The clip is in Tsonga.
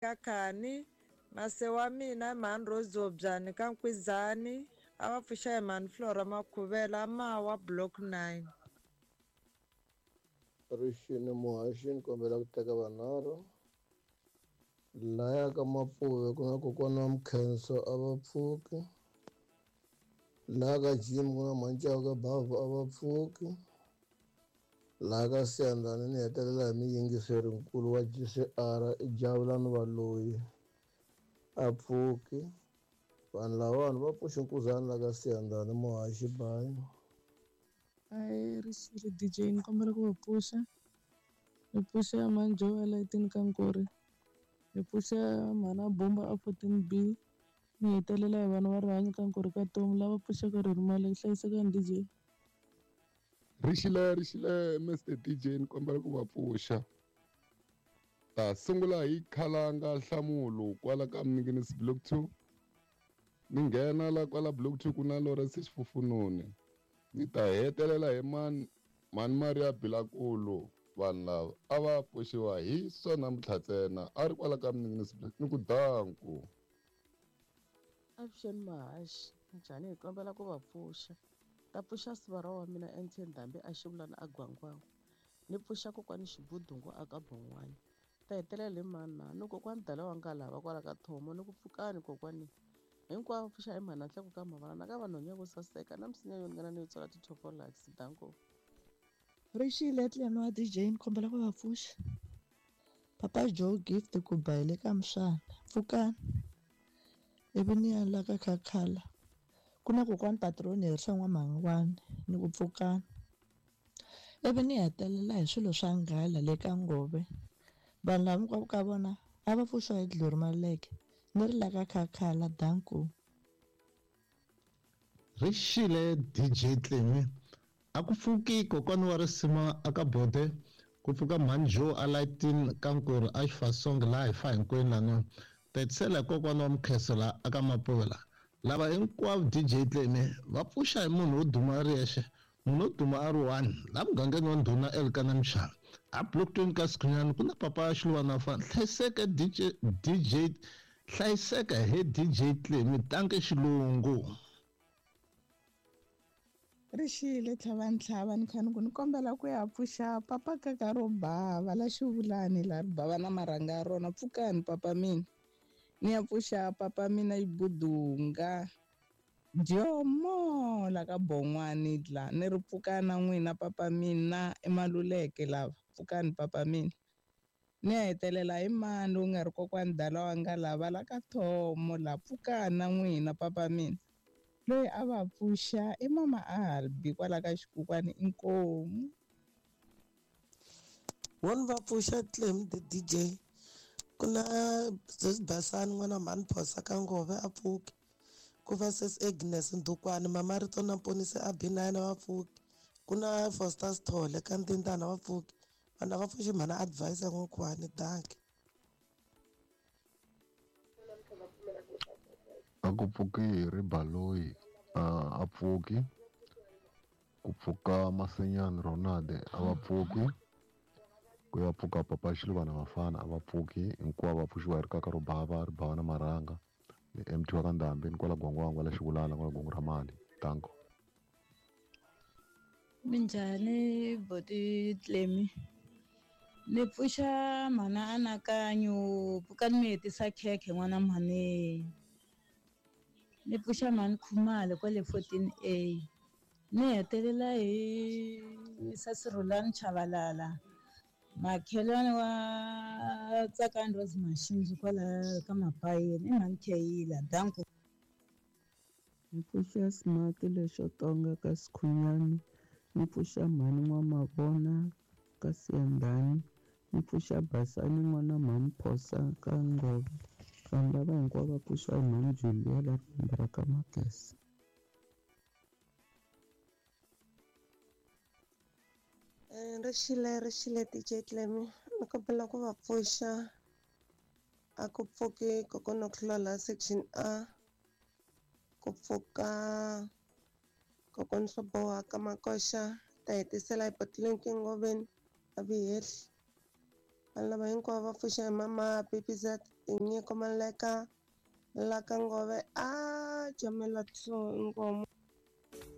Ka Khani, mase wa mina i mhani Rose Zobyani ka Nkwizani, a va pfuxa hi mhani Flora Makhuvela, Mawa Block 9. Rixini muhaxi ni kombela ku teka vanharhu laya ka Mapuve ku na kokwana wa Mkhenso a va pfuki laha ka Jim ku na Mhancawu ka Bavhu a va pfuki laha ka Siyandhani ni hetelela hi muyingiseri nkulu wa GCR i Javulani Valoyi a pfuki vanhu lavawani va pfuxe nkuzana la ka Siyandhani muhaxi bayi. Ahee rixile DJ ni kombela ku va pfuxa ni pfuxa mhani Joe a layitini ka Nkori ni pfuxa mhana Bomba a 14 B ni hetelela hi vana va rihanyo ka Nkori ka Tomu lava pfuxaka ririmi hlayisekani DJ. Rixile rixile Mr DJ ni kombela ku va pfuxa ta sungula hi khalanga nhlamulo kwala ka Mninginisi block 2 ni nghena la kwala block 2 ku na Lawrence Xifufununi ni ta hetelela hi mani mani Maria Bilakulu vanhu lava a va pfuxiwa hi swa namuntlha ntsena a ri kwala ka Mninginisi block ni ku danku. Avuxeni Mahaxi, njhani hi kombela ku va pfuxa. Ta pfuxa sivara wa mina NT Ndhambi a xivulana a Gwangwangwa. Ni pfuxa kokwani Xibudungu a ka Bon'wani. Ta hetelela hi mani na ni kokwani Dala wa Ngalava kwala ka Thomo ni ku pfukani kokwani. Hinkwavo pfuxa hi mhana nhleko ka mavana na ka vanhwenya vo saseka na misinya yo ringana ni yo tswala ti-topolax danko. Rixile tlhelo wa DJ ni kombela ku va pfuxa. Papa Joe Gift ku ba hi le ka Mswana. Pfukani. Ivi ni ya la ka Khakhala. Ku na kokwani Patroni Herisa N'wamhangwani ni ku pfukani. Ivi ni hetelela hi swilo swa nghala le ka Ngove. Vanhu lava hinkwavo ka vona a va pfuxiwa hi Glory Maluleke ni ri la ka Khakhala danko. Rixile DJ Tlemi a ku pfuki kokwana wa risima a ka Bode ku pfuka mhani Joe a Lightin ka Nkuri a Xifasong laha hi fa hinkwenu lano tetisela hi kokwana wa Mkheso la aka Mapuve la lava hinkwavo DJ Tlemi va pfuxa hi munhu wo duma a ri yexe munhu wo duma a ri one la mugangeni wa ndhuna Elkana Mshana a block 20 ka Sikhunyani ku na papa Xiluvana fa hlayiseka DJ DJ hlayiseka he DJ Tlemi tanke xilungu. Rixile tlhava ntlhava ni kha ni ku ni kombela ku ya pfuxa papa kaka ro bava la xivulani la ri bava na marhanga ya rona pfukani papa mina ni ya pfuxa papa mina Ibudunga Dyomo la ka Bon'wani la ni ri pfukana n'wina papa mina i Maluleke lava pfukani papa mina ni ya hetelela hi mani lowu nga ri kokwani Dala wa nga lava la ka Thomo la pfukana n'wina papa mina loyi a va pfuxa i mama Albi kwala ka xikukwani inkomu. Wona va pfuxa Clem the DJ ku na sis Basani n'wana mhani Phosa ka Ngove a pfuki ku va sis Agnes Ndukwani mama Rito na Mponisi a B9 va pfuki ku na Foster Sithole ka Ntintana va pfuki vanhu va pfuxi mhana advice ya n'wikhuwani danki. A ku pfuki hi ri Baloyi a pfuki ku pfuka Masenyani Ronald a va pfuki ku ya pfuka papa Xiluvana vafana a va pfuki hinkwavo va pfuxiwa hi rikaka ro bava ri bava na marhanga ni MT wa ka Ndhambi ni kwala Gwangwangwa la Xivulana kwala Gongo ra mali danko. Minjhani boti Tlemi ni pfuxa mhana Anakanyo pfukani mi hetisa khekhe n'wana mhani ni pfuxa mhani Khumalo kwale 14A ni hetelela hi Sasirhulani Chavalala makhelwani wa Tsakani Rose Mashinji kwala ka Mapayeni i mhani Kheyila danko. Ni pfuxa Smart lexo tonga ka Sikhunyani ni pfuxa mhani N'wamavona ka Siyandhani ni pfuxa Basani n'wana mhani Phosa ka Ngove vanhu lava hinkwavo va pfuxiwa hi mhani Julia la rimba ra ka Magesi. Rixile rixile DJ Tlemi ni kombela ku va pfuxa a ku pfuki kokwana Khulala section A ku pfuka kokwana Swaboha ka Makoxa ta hetisela hi Botlinki Ngoveni a Vihehli. Vanhu lava hinkwavo va pfuxa hi mama PPZ Tinyiko Maleka la ka Ngove a jamela 2 inkomu.